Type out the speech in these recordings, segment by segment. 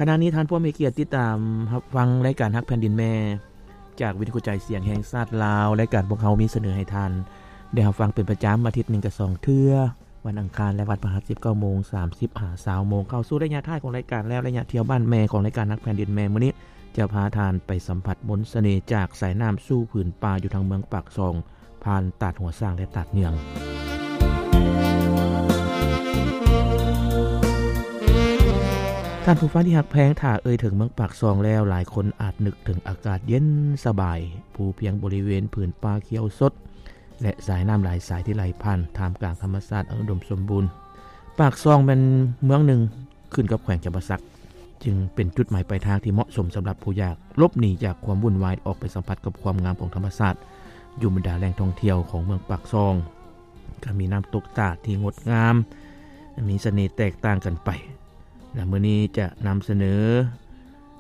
ຂະນະນີ້ທ່ານຜູ້ມີກຽດຕິດຕາມຮັບຟັງລາຍການຮັກແຜ່ນດິນແມ່ ຈາກວິທະຍຸກະຈາຍສຽງແຫ່ງຊາດລາວ. ລາຍການພວກເຮົາມີສະເໜີໃຫ້ທ່ານໄດ້ຮັບຟັງເປັນປະຈຳ ອາທິດໜຶ່ງກະສອງເທື່ອ, ວັນອັງຄານ ແລະ ວັນພະຫັດ ສິບເກົ້າໂມງສາມສິບຫາຊາວໂມງ. ເຂົ້າສູ່ໄລຍະທ້າຍຂອງລາຍການແລ້ວ, ໄລຍະທ່ຽວບ້ານແມ່ຂອງລາຍການຮັກແຜ່ນດິນແມ່ມື້ນີ້ ຈະພາທ່ານໄປສຳຜັດມົນສະເໜ່ຈາກສາຍນ້ຳສູ່ຜືນປ່າຢູ່ທາງເມືອງປາກຊ່ອງ ຜ່ານຕາດຫົວຊ້າງ ແລະ ຕາດເຍືອງ. ທ່ານຜູ້ຟັງທີ່ຮັກແພງ, ຖ້າເອີ່ຍເຖິງເມືອງປາກຊ່ອງແລ້ວ, ຫຼາຍຄົນອາດນຶກເຖິງອາກາດເຢັນສະບາຍ, ພູພຽງບໍລິເວນຜືນປ່າຂຽວສົດ ແລະ ສາຍນ້ຳຫຼາຍສາຍທີ່ໄຫຼຜ່ານ ທ່າມກາງທຳມະຊາດອັນອຸດົມສົມບູນ. ປາກຊ່ອງແມ່ນເມືອງໜຶ່ງ ຂຶ້ນກັບແຂວງຈຳປາສັກ, ຈຶ່ງເປັນຈຸດໝາຍປາຍທາງທີ່ເໝາະສົມສຳລັບຜູ້ຢາກຫຼົບໜີຈາກຄວາມວຸ່ນວາຍ ອອກໄປສຳຜັດກັບຄວາມງາມຂອງທຳມະຊາດ ຢູ່ບັນດາແຫຼ່ງທ່ອງທ່ຽວຂອງເມືອງປາກຊ່ອງ. ກໍມີນ້ຳຕົກຕາດທີ່ງົດງາມ, ມີສະເໜ່ແຕກຕ່າງກັນໄປ. ແລະ ມື້ນີ້ຈະນຳສະເໜີ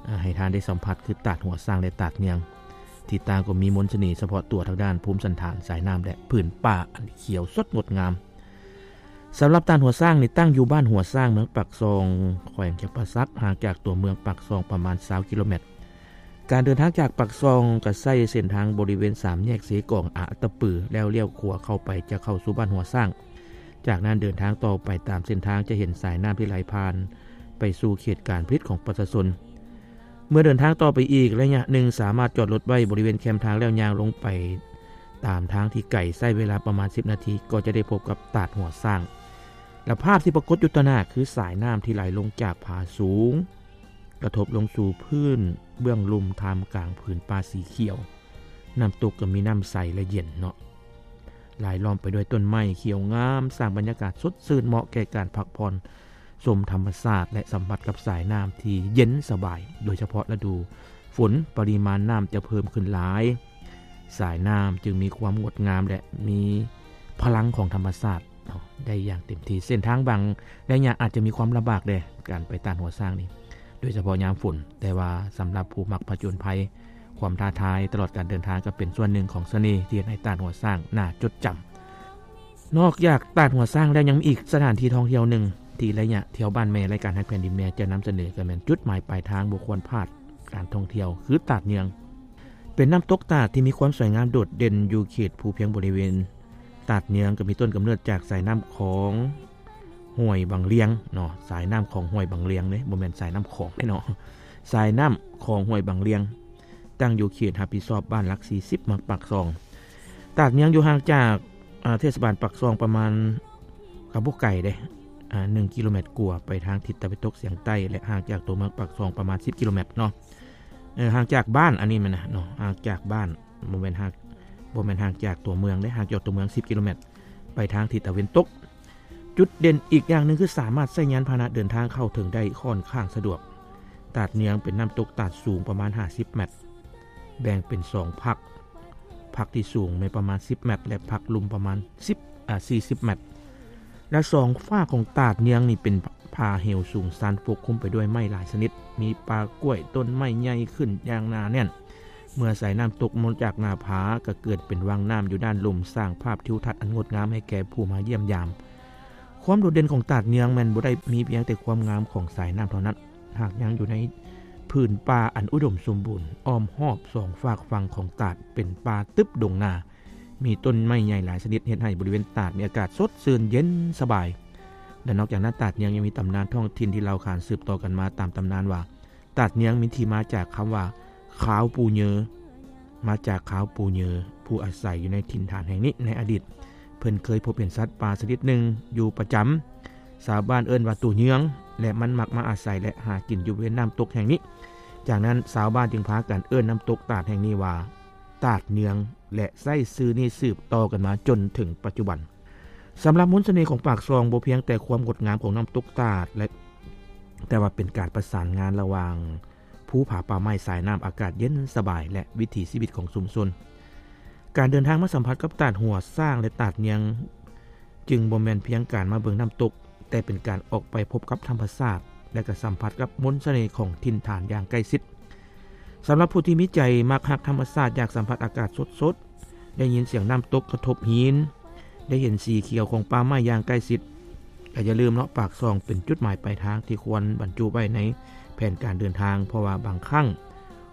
ອາ ໃຫ້ທ່ານໄດ້ສຳຜັດ ຄືຕາດຫົວຊ້າງ ແລະ ຕາດເຍືອງ, ທີ່ຕ່າງກໍມີມົນສະເໜ່ສະເພາະຕົວທາງດ້ານພູມສັນຖານ, ສາຍນ້ຳ ແລະ ຜືນປ່າອັນຂຽວສົດງົດງາມ. ສຳລັບຕາດຫົວຊ້າງນີ້ ຕັ້ງຢູ່ບ້ານຫົວຊ້າງ ເມືອງປາກຊ່ອງ ແຂວງຈຳປາສັກ, ຫ່າງຈາກຕົວເມືອງປາກຊ່ອງປະມານຊາວກິໂລແມັດ. ການເດີນທາງຈາກປາກຊ່ອງກໍໃຊ້ເສັ້ນທາງບໍລິເວນສາມແຍກເຊກອງ ອາອັດຕະປື ແລ້ວລ້ຽວຂວາເຂົ້າໄປ ຈະເຂົ້າສູ່ບ້ານຫົວຊ້າງ. ຈາກນັ້ນເດີນທາງຕໍ່ໄປຕາມເສັ້ນທາງ ຈະເຫັນສາຍນ້ຳທີ່ໄຫຼຜ່ານໄປສູ່ເຂດການຜະລິດຂອງປະຊາຊົນ. ເມື່ອເດີນທາງຕໍ່ໄປອີກໄລຍະໜຶ່ງ ສາມາດຈອດລົດໄວ້ບໍລິເວນແຄມທາງ ແລ້ວຍ່າງລົງໄປຕາມທາງທີ່ໄກ ໃຊ້ເວລາປະມານສິບນາທີ ກໍຈະໄດ້ພົບກັບຕາດຫົວຊ້າງ. ແລະ ພາບທີ່ປາກົດຢູ່ຕໍ່ໜ້າ ຄືສາຍນ້ຳທີ່ໄຫຼລົງຈາກຜາສູງ ກະທົບລົງສູ່ພື້ນເບື້ອງລຸ່ມ ທ່າມກາງຜືນປ່າສີຂຽວ. ນ້ຳຕົກກໍມີນ້ຳໃສ ແລະ ເຢັນເນາະ, ລາຍລ້ອມໄປດ້ວຍຕົ້ນໄມ້ຂຽວງາມ, ສ້າງບັນຍາກາດສົດຊື່ນ ເໝາະແກ່ການພັກຜ່ອນ ຊົມທຳມະຊາດ ແລະ ສຳຜັດກັບສາຍນ້ຳທີ່ເຢັນສະບາຍ. ໂດຍສະເພາະລະດູຝົນ, ປະລິມານນ້ຳຈະເພີ່ມຂຶ້ນຫຼາຍ, ສາຍນ້ຳຈຶ່ງມີຄວາມງົດງາມ ແລະ ມີພະລັງຂອງທຳມະຊາດເນາະ ໄດ້ຢ່າງເຕັມທີ່. ເສັ້ນທາງບາງໄລຍະອາດຈະມີຄວາມລຳບາກແດ່ ການໄປຕາດຫົວຊ້າງນີ້, ໂດຍສະເພາະຍາມຝົນ, ແຕ່ວ່າສຳລັບຜູ້ມັກຜະຈົນໄພ, ຄວາມທ້າທາຍຕະຫຼອດການເດີນທາງ ກໍເປັນສ່ວນໜຶ່ງຂອງສະເໜ່ທີ່ເຮັດໃຫ້ຕາດຫົວຊ້າງໜ້າຈົດຈຳ. ນອກຈາກຕາດຫົວຊ້າງແລ້ວ ຍັງມີອີກສະຖານທີ່ທ່ອງທ່ຽວໜຶ່ງ ທີ່ໄລຍະທ່ຽວບ້ານແມ່ ລາຍການຮັກແຜ່ນດິນແມ່ ຈະນຳສະເໜີ ກໍແມ່ນຈຸດໝາຍປາຍທາງບໍ່ຄວນພາດການທ່ອງທ່ຽວ ຄືຕາດເຍືອງ. ເປັນນ້ຳຕົກຕາດທີ່ມີຄວາມສວຍງາມໂດດເດັ່ນຢູ່ເຂດພູພຽງບໍລິເວນ. ຕາດເຍືອງກໍມີຕົ້ນກຳເນີດຈາກສາຍນ້ຳຂອງຫ້ວຍບັງລຽງເນາະ, ສາຍນ້ຳຂອງຫ້ວຍບັງລຽງເດ້, ບໍ່ແມ່ນສາຍນ້ຳຂອງເດ້ເນາະ, ສາຍນ້ຳຂອງຫ້ວຍບັງລຽງ. ຕັ້ງຢູ່ເຂດຮັບຜິດຊອບບ້ານຫຼັກສີ່ສິບ ເມືອງປາກຊ່ອງ. ຕາດເຍືອງຢູ່ຫ່າງຈາກ ອາ ເທດສະບານປາກຊ່ອງປະມານ ກໍບໍ່ໄກເດ້ ອາ ໜຶ່ງກິໂລແມັດກວ່າໄປທາງທິດຕາເວັນຕົກສຽງໃຕ້ ແລະ ຫ່າງຈາກຕົວເມືອງປາກຊ່ອງປະມານສິບກິໂລແມັດເນາະ. ເອີ ຫ່າງຈາກບ້ານ ອັນນີ້ແມ່ນນະເນາະ, ຫ່າງຈາກບ້ານ ບໍ່ແມ່ນຫ່າງ ບໍ່ແມ່ນຫ່າງຈາກຕົວເມືອງເດ້, ຫ່າງຈາກຕົວເມືອງສິບກິໂລແມັດ ໄປທາງທິດຕາເວັນຕົກ. ຈຸດເດັ່ນອີກຢ່າງໜຶ່ງຄືສາມາດໃຊ້ຍານພາຫະນະເດີນທາງເຂົ້າເຖິງໄດ້ຄ່ອນຂ້າງສະດວກ. ຕາດເຍືອງເປັນນ້ຳຕົກຕາດສູງປະມານຫ້າສິບແມັດ, ແບ່ງເປັນສອງພັກ, ພັກທີ່ສູງແມ່ນປະມານສິບແມັດ ແລະ ພັກລຸ່ມປະມານສິບ ອາ ສີ່ສິບແມັດ. ແລະ ສອງຟາກຂອງຕາດເຍືອງນີ້ເປັນຜາເຫວສູງຊັນປົກຄຸມໄປດ້ວຍໄມ້ຫຼາຍຊະນິດ, ມີປ່າກ້ວຍ, ຕົ້ນໄມ້ໃຫຍ່ຂຶ້ນຢ່າງໜາແໜ້ນ. ເມື່ອສາຍນ້ຳຕົກມາຈາກໜ້າຜາ ກໍເກີດເປັນວັງນ້ຳຢູ່ດ້ານລຸ່ມ, ສ້າງພາບທິວທັດອັນງົດງາມໃຫ້ແກ່ຜູ້ມາຢ້ຽມຢາມ. ຄວາມໂດດເດັ່ນຂອງຕາດເຍືອງແມ່ນບໍ່ໄດ້ມີພຽງແຕ່ຄວາມງາມຂອງສາຍນ້ຳເທົ່ານັ້ນ, ຫາກຍັງຢູ່ໃນຜືນປ່າອັນອຸດົມສົມບູນ, ອ້ອມຮອບສອງຟາກຝັ່ງຂອງຕາດເປັນປ່າຕຶບດົງນາ, ມີຕົ້ນໄມ້ໃຫຍ່ຫຼາຍຊະນິດ ເຮັດໃຫ້ບໍລິເວນຕາດມີອາກາດສົດຊື່ນເຢັນສະບາຍ. ແລະ ນອກຈາກນັ້ນ, ຕາດເຍືອງຍັງມີຕຳນານທ້ອງຖິ່ນທີ່ເລົ່າຂານສືບຕໍ່ກັນມາຕາມຕຳນານວ່າ ຕາດເຍືອງມີທີ່ມາຈາກຄຳວ່າ ຂາວປູເຍີ, ມາຈາກຂາວປູເຍີ ຜູ້ອາໄສຢູ່ໃນຖິ່ນຖານແຫ່ງນີ້ໃນອະດີດ. ເພິ່ນເຄີຍພົບເຫັນສັດປ່າຊະນິດໜຶ່ງຢູ່ປະຈຳ, ຊາວບ້ານເອີ້ນວ່າໂຕເຍືອງ ແລະ ມັນມັກມາອາໄສ ແລະ ຫາກິນຢູ່ບລິເວນນ້ຳຕົກແຫ່ງນີ້. ຈາກນັ້ນ ຊາວບ້ານຈຶ່ງພາກັນເອີ້ນນ້ຳຕົກຕາດແຫ່ງນີ້ວ່າ ຕາດເຍືອງ ແລະ ໃຊ້ຊື່ນີ້ສືບຕໍ່ກັນມາຈົນເຖິງປັດຈຸບັນ. ສຳລັບມົນສະເໜ່ຂອງປາກຊ່ອງ ບໍ່ພຽງແຕ່ຄວາມງົດງາມຂອງນ້ຳຕົກຕາດ ແລະ ແຕ່ວ່າເປັນການປະສານງານລະຫວ່າງພູຜາປ່າໄມ້, ສາຍນ້ຳ, ອາກາດເຢັນສະບາຍ ແລະ ວິຖີຊີວິດຂອງຊຸມຊົນ. ການເດີນທາງມາສຳຜັດກັບຕາດຫົວຊ້າງ ແລະ ຕາດເຍືອງ ຈຶ່ງບໍ່ແມ່ນພຽງການມາເບິ່ງນ້ຳຕົກ, ແຕ່ເປັນການອອກໄປພົບກັບທຳມະຊາດ ແລະ ກໍສຳຜັດກັບມົນສະເໜ່ຂອງຖິ່ນຖານຢ່າງໃກ້ຊິດ. ສຳລັບຜູ້ທີ່ມີໃຈມັກຮັກທຳມະຊາດ, ຢາກສຳຜັດອາກາດສົດໆ, ໄດ້ຍິນສຽງນ້ຳຕົກກະທົບຫີນ, ໄດ້ເຫັນສີຂຽວຂອງປ່າໄມ້ຢ່າງໃກ້ຊິດ, ກໍຢ່າລືມເນາະ ປາກຊ່ອງເປັນຈຸດໝາຍປາຍທາງທີ່ຄວນບັນຈຸໄວ້ໃນແຜນການເດີນທາງ, ເພາະວ່າບາງຄັ້ງ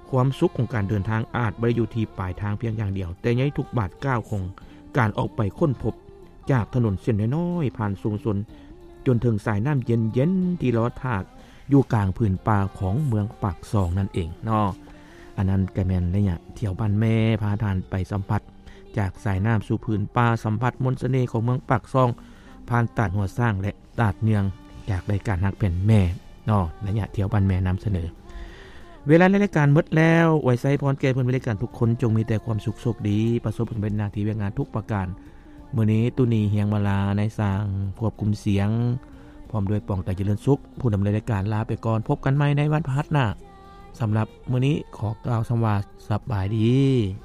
ຄວາມສຸກຂອງການເດີນທາງອາດບໍ່ໄດ້ຢູ່ທີ່ປາຍທາງພຽງຢ່າງດຽວ, ແຕ່ໃນທຸກບາດກ້າວຂອງການອອກໄປຄົ້ນພົບ ຈາກຖະໜົນເສັ້ນນ້ອຍໆ ຜ່ານຊຸມຊົນ ຈົນເຖິງສາຍນ້ຳເຢັນໆ ທີ່ລອທາກຢູ່ກາງຜືນປ່າຂອງເມືອງປາກຊ່ອງນັ້ນເອງເນາະ. ອັນນັ້ນກໍແມ່ນໄລຍະທ່ຽວບ້ານແມ່ ພາທ່ານໄປສຳຜັດຈາກສາຍນ້ຳສູ່ຜືນປ່າ, ສຳຜັດມົນສະເໜ່ຂອງເມືອງປາກຊ່ອງ ຜ່ານຕາດຫົວຊ້າງ ແລະ ຕາດເຍືອງ ຈາກລາຍການຮັກແຜ່ນແມ່ເນາະ, ໄລຍະທ່ຽວບ້ານແມ່ນຳສະເໜີ. ເວລາໃນລາຍການໝົດແລ້ວ, ອວຍໄຊພອນແກ່ເພື່ອນເຮັດລາຍການທຸກຄົນ ຈົ່ງມີແຕ່ຄວາມສຸກໂຊກດີ, ປະສົບຜົນສຳເລັດໜ້າທີ່ວຽກງານທຸກປະການ. ມື້ນີ້ ຕຸນີ ຮຽງມາລາ ນາຍຊ່າງຄວບຄຸມສຽງ ພ້ອມດ້ວຍ ປອງ ຕາຈະເລີນສຸກ ຜູ້ດຳເນີນລາຍການ ລາໄປກ່ອນ. ພົບກັນໃໝ່ໃນວັນພະຫັດໜ້າ. ສຳລັບມື້ນີ້ ຂໍກ່າວຄຳວ່າ ສະບາຍດີ.